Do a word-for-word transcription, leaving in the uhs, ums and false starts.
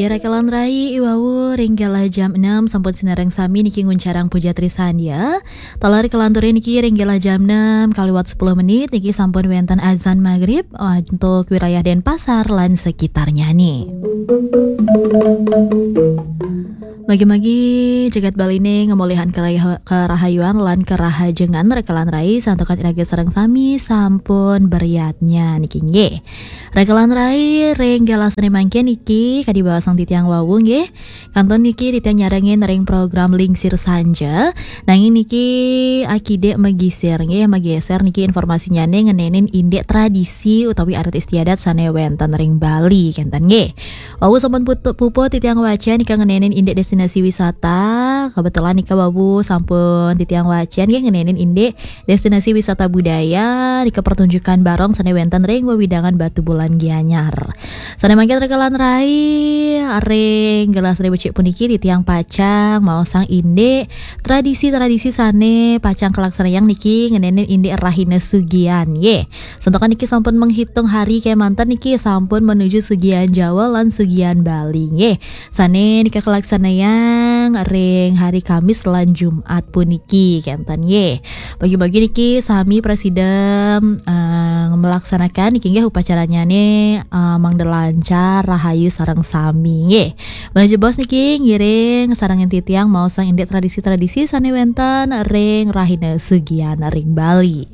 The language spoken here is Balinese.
Rekelan rai iwawu ring galah jam enam sampun sinareng sami niki nguncarang puja trisandya. Taler kalanturin niki ring galah jam enam kaliwat sepuluh menit niki sampun wenten azan maghrib, ah, untuk wilayah Denpasar lan sekitarnya nih. Magi-magi jagat Bali nih ngamolihang keraha-, kerahayuan lan kerahajengan rekelan rai santukan iraga sareng sami sampun beriatnya niki nggih. Rekelan rai ring galah sane mangkin niki kadi baosang titiang wau nggih. Kantun niki titiang nyarengin ring program Lingsir Sanja. Nanging niki akidik magisir nggih, mageser niki informasinyane ngenenin indik tradisi utawi adat istiadat sane wenten ring Bali kenten nggih. Wau sampun putu-, puput titiang waca nika ngenenin indik destinasi wisata. Kebetulan nika wau sampun titiang waca nggih ngenenin indik destinasi wisata budaya nika pertunjukan barong sane wenten ring wewidangan Batubulan Gianyar. Sane mangkin rekelan rai ring galah sane becik puniki titiang pacang maosang indik tradisi-tradisi sane pacang kalaksanayang niki ngenenin indik rahina sugian nggih. Santukan niki sampun menghitung hari kemanten niki sampun menuju sugian Jawa lan sugian Bali nggih. Sane nika kalaksanayang ring hari Kamis lan Jumat puniki kenten nggih. Bagi-bagi niki sami prasida, eh, melaksanakan niki nggih upacaranyane, eh, mangda lancar rahayu sareng sami nggih. Menuju bos niki ngiring sareng titiang maosang indik tradisi-tradisi sane wenten ring rahina sugian ring Bali.